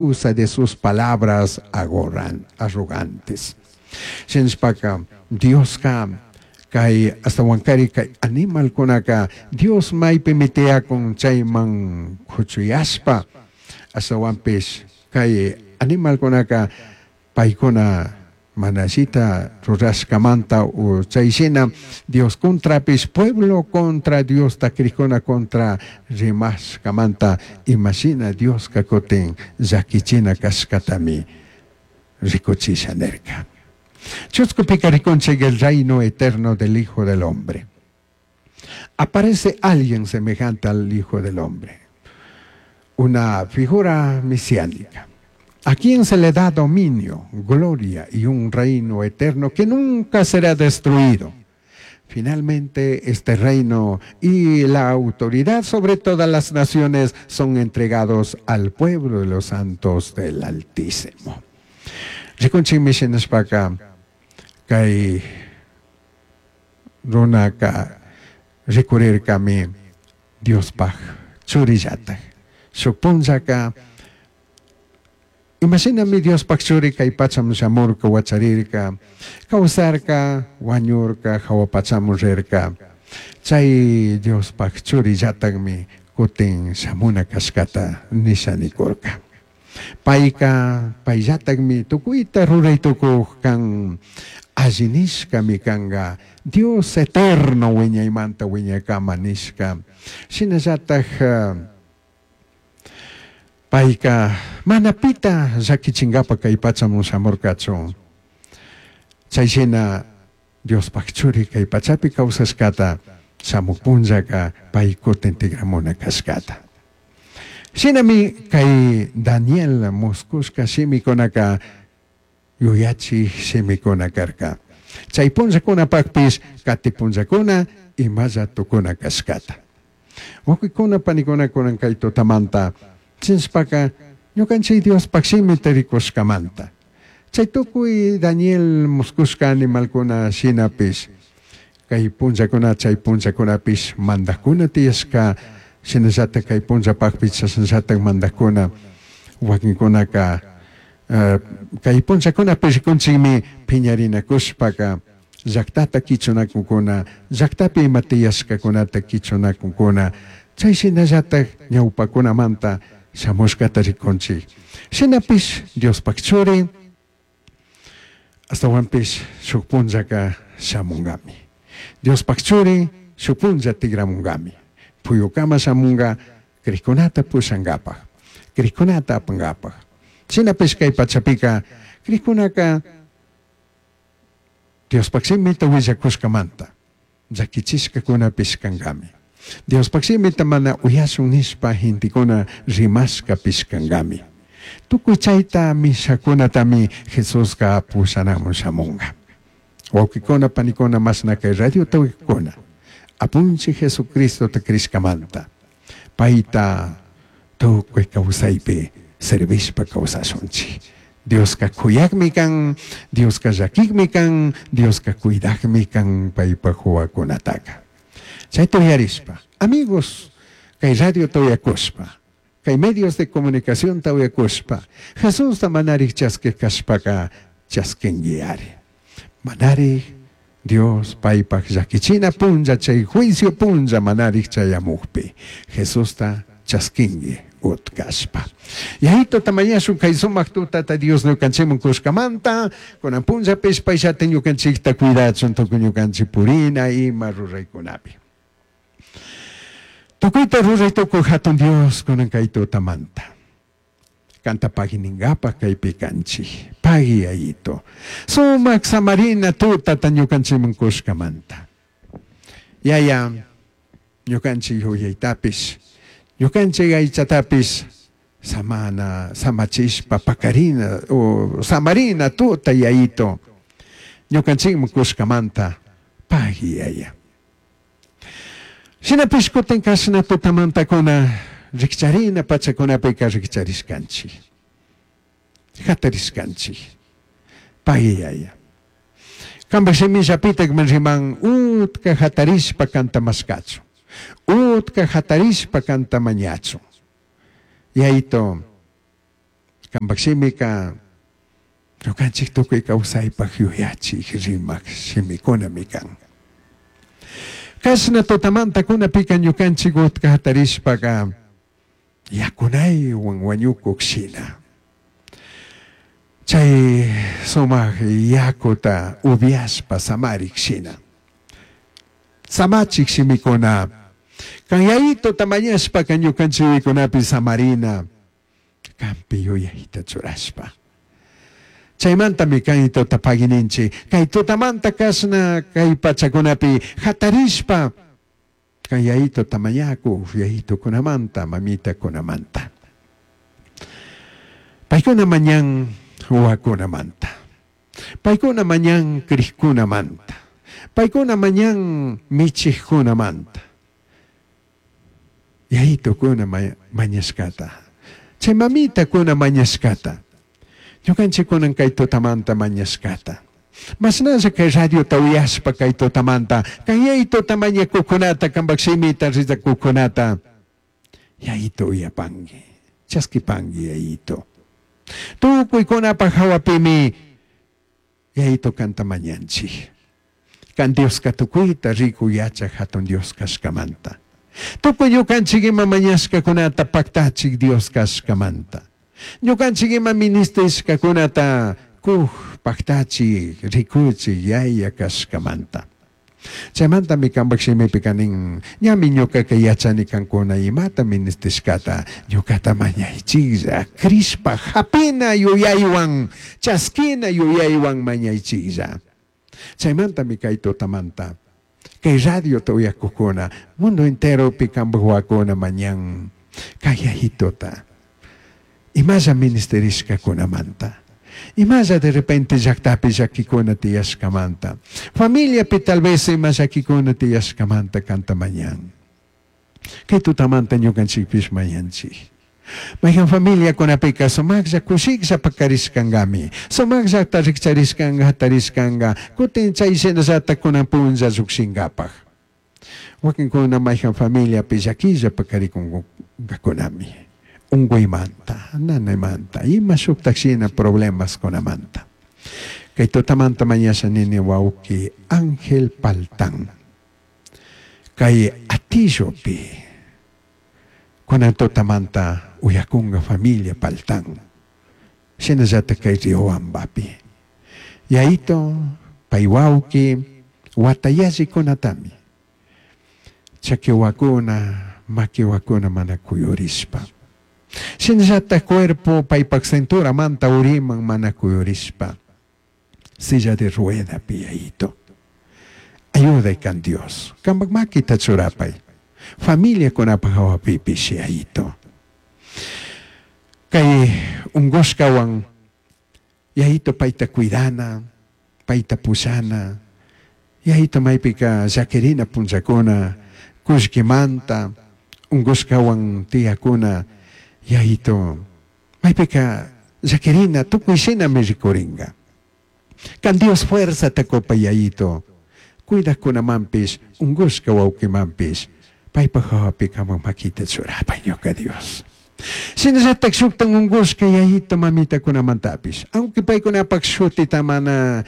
Usa de sus palabras arrogantes. Shinashpaka Diosca kay ashtahuancari kay animalcunaca Dios maipimi tiyacun chaiman cuchuyashpa ashtahuanpish kay animalcunaca paicuna mana allita rurashcamanta o chay shina Dios contrapish pueblo contra Diosta crijcuna contra rimashcamanta imashina Diosca cutin llaquichina cashcatami ricuchisha nirca. Chuscupica ricunchij el reino eterno del Hijo del Hombre. Aparece alguien semejante al Hijo del Hombre, una figura mesiánica, a quien se le da dominio, gloria y un reino eterno que nunca será destruido. Finalmente, este reino y la autoridad sobre todas las naciones son entregados al pueblo de los santos del Altísimo. Rikunchikmi shinashpaka kay runaka rikurirkami Diospaj churillataj. Shuk punllaka imashinami Diospaj churi kay pachaman shamurka, wacharirka, kawsarka, wañurka, hawa pachaman rirka. Chay Diospaj churillatajmi kutin shamuna kashkata nisha nikurka. Payka payllatakmi tukuyta ruray tukuq kan alli nishkami kanka Dios eterno wiñaymanta wiñaykama nishka. Shinallatak payka mana pita llakichinkapa kay pachaman shamurkachu. Chay shina Diospaj churi kay pachapi kawsashkata shamuk punllaka pay kutin tikramuna kashkata. Shinami kay Daniel muskushka shimikunaka yuyachij shimikuna karka. Chay punllakunapakpish kati punllakuna imalla tukuna kashkata. Wawqikuna panikuna kunan kay tutamanta chinshpaka ñukanchik Diospaj shimita rikushkamanta. Chay tukuy Daniel muskushka animalkuna shinapish kay punllakuna chay punllakunapish mandakuna tiyashka shinallatak kay punllapakpish chashnallatak mandakuna wakinkunaka kay punllakunapish rikunchikmi phiñarinakushpaka llaktata kichunakunkuna llaktapi ima tiyashkakunata kichunakunkuna chay shinallatak ñawpakunamanta shamushkata rikunchik. Shinapish Diospaj churi ashtawanpish shuk punllaka shamunkami. Diospaj churi shuk punlla tikramunkami. Puyukama shamunka crijkunata pushankapaj, crijkunata apankapaj. Shinapish kay pachapika crijkunaka Diospaj shimita willakushkamanta llakichishkakunapish kankami. Diospaj shimita mana uyashun nishpa gentekuna rimashkapish kankami. Tukuy chayta mishakunatami Jesuska pushanamun shamunka. Wawqikuna panikuna mashna kay radiota uykuna Apunchik Jesucristota crishkamanta payta tukuy kawsaypi servishpa kawsashunchik. Dioska kuyakmi kan, Dioska llakikmi kan, Dioska cuidakmi kan paypaj wawakunataka. Chayta uyarishpa, amigos, kay radiota uyakushpa, kay medios de comunicacionta uyakushpa, Jesusta manarik chaskik kashpaka chaskinki ari. Manarik Dios paypaj llakichina punlla chay juicio punlla manarik chayamukpi Jesusta chaskinki utkashpa. Yayito tamañashun kay sumak tutata Dios ñukanchikman kushkamanta, kunan punllapish payllata ñukanchikta cuidachun tukuy ñukanchik purina ima ruraykunapi. Tukuyta ruray tukuy hatun Dios kunan kay tutamanta. Kanta pagui kaypi kanchik. Pagui Yayito. Sumak samarina tutata ñukanchikman kushkamanta. Yaya ñukanchik yuyaytapish, ñukanchik aychatapish samana, samachishpa pakarina o samarina tuta Yayito. Ñukanchikman kushkamanta pagui Yaya. Shinapish kutin kashna tutamantakuna rikcharina pachakunapika rikcharishkanchik. Hatarishkanchik. Pagui Yaya. Kanpak shimillapitak riman utka hatarishpa kanta mashkachun. Utka hatarishpa kanta mañachun. Yayito, Cambaj shimica ñucanchij tucui causaipac yuyachij rimaj shimicunami can. Cashna tutamantacunapika ñucanchij utca jatarishpaca yacunaihuan huañucuj shina. Chay sumaj yacuta ubiashpa samarik shina. Samachik shimicuna. Can yayituta mañashpaca ñucanchikkunapi samarina. Canpi yuyayta churashpa. Chaymantami kay tuta pagininchik. Kay tutamanta kashna kay pachakunapi hatarishpa kay yayituta mañakuq yayitukunamanta mamitakunamanta. Paykuna mañan wawakunamanta. Paykuna mañan crikkunamanta. Paykuna mañan michikkunamanta. Yayitukuna mañashkata. Chay mamitakuna mañashkata. Ñukanchikkunan kay tutamanta mañashkata. Mashnalla kay radiota uyashpa kay tutamanta, kay yayituta mañakuqkunata, kanpak shimita rizakuqkunata, yayito uyapanki, chaskipanki yayito. Tukuykunapaj hawapimi yayito kanta mañanchik. Kan Dioska tukuyta riku yachaj hatun Dios kashkamanta. Tukuy ñukanchik ima mañashkakunata paktachik Dios kashkamanta. Ñukanchik ima ministishkakunata kuj paktachik rikuchik yaya kashkamanta. Chaymantami kanpak shimipika nin, ñami ñukaka yachani kankuna imata ministishkata ñukata mañaychiklla, crishpa hapina yuyaywan, chaskina yuyaywan mañaychiklla. Chaymantami kay tutamanta, kay radiota uyakukuna, mundo enteropi kanpak wawakuna mañan kay yayituta, imalla ministerishkakunamanta, imalla de repente llaktapi llakikuna tiyashkamanta, familiapi tal vez ima llakikuna tiyashkamanta kanta mañan. Kay tutamanta ñukanchikpish mañanchik. Mayhan familiakunapika sumaqlla kushiklla pakarishkankami, sumaqllata rikcharishkanka hatarishkanka, kutin chay shinallata kunan punlla llukshinkapak. Wakinkuna mayhan familiapi llakilla pakarikunkakunami, unkuymanta, nanaymanta, ima shuktak shina problemaskunamanta. Kay tutamanta mañasha nini wawki Ángel Paltán, kay Atillopi, kunan tutamanta uyakunga familia Paltán, shinallata kay Riobambapi. Yayito, pay wawki, watayallikunatami, chakiwakuna, makiwakuna mana kuyurishpa. Shinallata cuerpo paypak cinturamanta uriman mana kuyurishpa. Silla de ruedapi yayito. Ayuday kan Dios. Kampak makita churapay. Familiakunapaj hawapipish yayito. Kay ungushkawan yayito payta cuidana, payta pushana, yayito maypika llakirina punllakuna, kullkimanta, ungushkawan tiyakuna, yayito maypika llakirina tukuy shinami rikurinka. Kan Dios fuerzata kupay yayito, cuidajkunamanpish, ungushka wawkimanpish, paypaj hawapi kaman makita churapay ñuka Dios. Shinallatak shuktan ungushka yayito mamitakunamantapish, aunque paykunapak shutita mana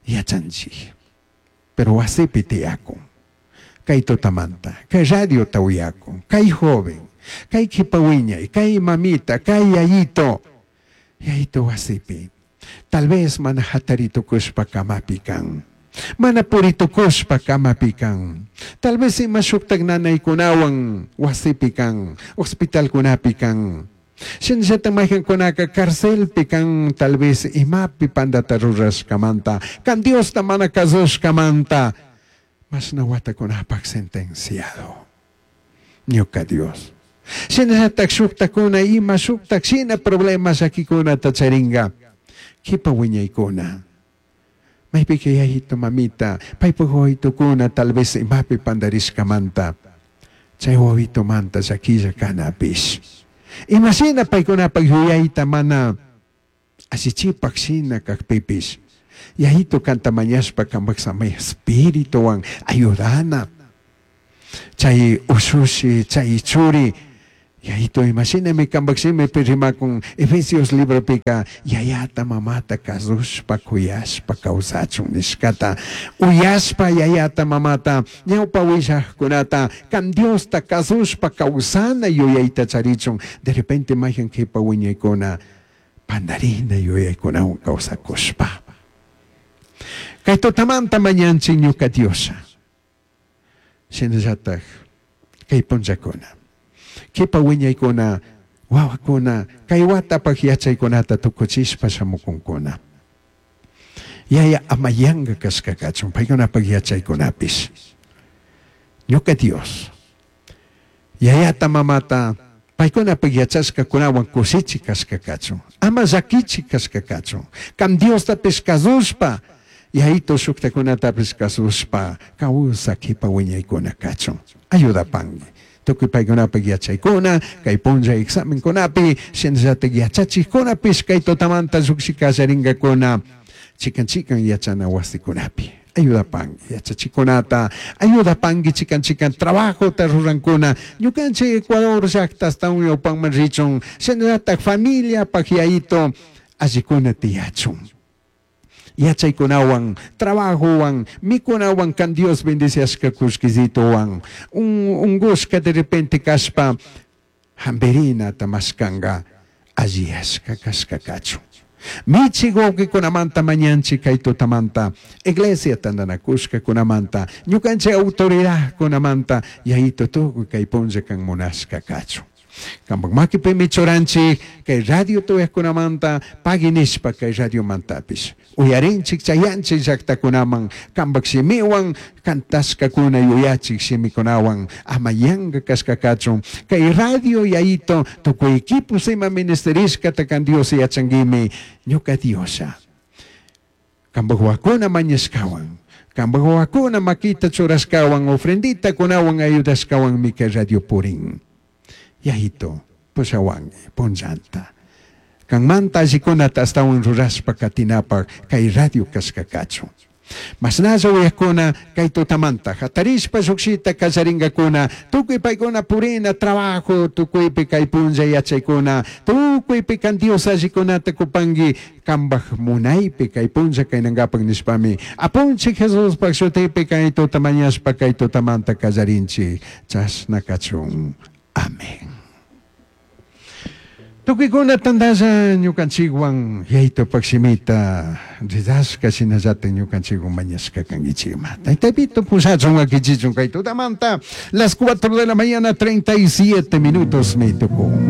yachanchik, pero wasipi tiyakun, kay tutamanta, kay radiota uyakun, kay joven, kay kipa wiñay, kay mamita, kay yayito, yayito wasipi, tal vez mana hataritukushpa kamapi kan, mana puritukushpa kamapi kan, tal vez ima shuktak nanaykunawan wasipi kan, hospitalkunapi kan, shinallata mayqankunaka carcelpi kan, tal vez imapi pandata rurashkamanta, kan Diosta mana kasushkamanta, mashna watakunapak sentenciado. Ñuka Dios. Shinallatak shuktakuna ima shuktak shina problema llakikunata charinka, kipa wiñaykuna. Maypika yayito mamita, paypak wawitukuna tal vez imapi pandarishkamanta, chay wawitumanta llakilla kanapish. Imashina paykunapak yuyayta mana allichipak shina kakpipish, yayito kanta mañashpa kanpak samay espirituwan ayudana. Chay ushushi, chay churi, Yayito imashinami kambak shimipi rimakun Efesios libropika yayata mamata kasushpa kuyashpa kawsachun nishkata uyashpa yayata mamata ñawpa willajkunata kan Diosta kasushpa kawsana yuyayta charichun. De repente mayhan kipa wiñaykuna pandarina yuyaykunawan kawsakushpa. Kay tutamanta mañanchik ñuka Diosha. Shinallatak kay punllakuna kipa wiñaykuna wawakuna kay watapaq yachaykunata tukuchishpa shamukunkuna. Yaya ama yanka kashka kachun paykunapaq yachaykunapish. Ñuka Dios yayata mamata paykunapaq yachashkakunawan kushichi kashka kachun ama llakichi kashka kachun kam Diostapish kasushpa yayito shuktakunatapish kasushpa kawsa kipa wiñaykuna kachun. Ayudapanki tukuy paykunapaq yachaykuna kay punlla examenkunapi shinallatak yachachikkunapish kay tutamanta lluqshi kallarinkakuna chikan chikan yachana wasikunapi. Ayudapanki yachachikunata ayudapanki chikan chikan trabajota rurankuna. Ñukanchik Ecuador llaqta astawan ñawpanman richun shinallatak familiapaq yayito allikuna tiyachun. Yachaykunawan trabajowan mikunawan kan Dios bendiciashka kullkisituwan ungushka de repente kashpa hampirinata mashkanka alliyashka kashka kachun. Michi wawqikunamanta mañanchik kay tutamanta iglesia tantanakushkakunamanta ñukanchik autoridadkunamanta yayito tukuy kay punlla kan munashka kachun. Kampak makipimi churanchik kay radio tuyaqkunamanta pagui nishpa kay radiomantapish uyarinchik chayanchik llaqtakunaman kampak shimiwan kantashkakuna yuyachik shimikunawan ama yanka kashka kachun. Kay radio yayito tukuy equipos ima ministerishkata kan Dios yachankimi ñuka Diosha. Kampak wawakuna mañashkawan kampak wawakuna makita churashkawan ofrendita kunawan ayudashkawanmi kay radio purin. Yayito pushawanki punllanta kanmanta allikunata astawan rurashpa katinapaq kay radio kashka kachun. Mashnalla uyakuna kay tutamanta hatarishpa lluqshita kallarinkakuna tukuy paykuna purina trabajo tukuypi kay punlla yachaykuna tukuypi kan Dios allikunata kupanki kambaj munaypi kay punlla kaynankapak nishpami apunchik Jesuspaq shutipi kay tuta mañashpa kay tutamanta kallarinchik chashna kachun. Amén. Tukuykuna tantalla ñukanchikwan yaytupak shimita ridashka shinallatak ñukanchikwan mañashka kankichikma. Taytapito pushachun wakichichun kay tutamanta las 4 de la mañana 37 minutos mi tukun.